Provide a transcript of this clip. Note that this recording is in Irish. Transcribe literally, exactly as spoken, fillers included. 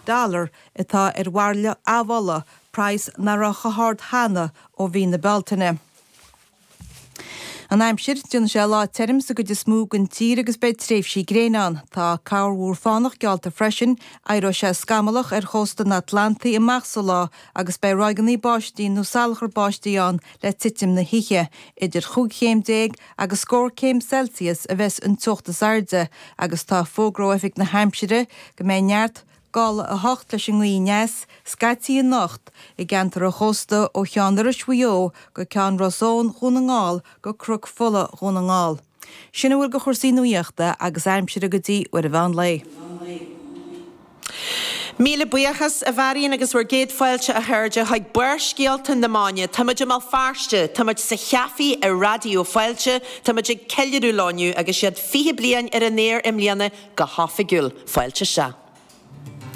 dollar atá ar bhairille amhola, praghas nach raibh chomh hard cheana ó mhí na Bealtaine. An aimsir, déanfaidh sé lá tirim sa gcuid is mó den tír agus beidh tréimhsí gréine ann. Tá corrmhúr fánach geallta freisin, éireoidh sé scamallach ar chósta an Atlantaigh amach sa lá agus beidh ráigeanna báistí nó salachar báistí ann le titim na hoíche. Idir chúig chéim déag agus scór céim Celsius a bheas an teocht is airde agus tá fógra ó Oifig na hAimsire go mbeidh neart gála a hocht leis an ngaoth aneas scaití anocht i gceantar an chósta ó Cheann Iorrais Mhaigh Eo go Ceann Ros Eoin Dhún na nGall go Cnoc Fola Dhún na nGall. Sin a bhfuil de chúrsaí nuachta agus aimsire go dtí uair an mheán lae. Míle buíochas a Mharion agus bhur gcéad fáilte a chairde chuig Barrscéalta na Máine. Táimid i mBéal Feirste, táimid sa chaife i Raidió Fáilte, táimid ag ceiliúradh leo inniu agus iad fiche bliain ar an aer i mbliana go hoifigiúil. Fáilte isteach.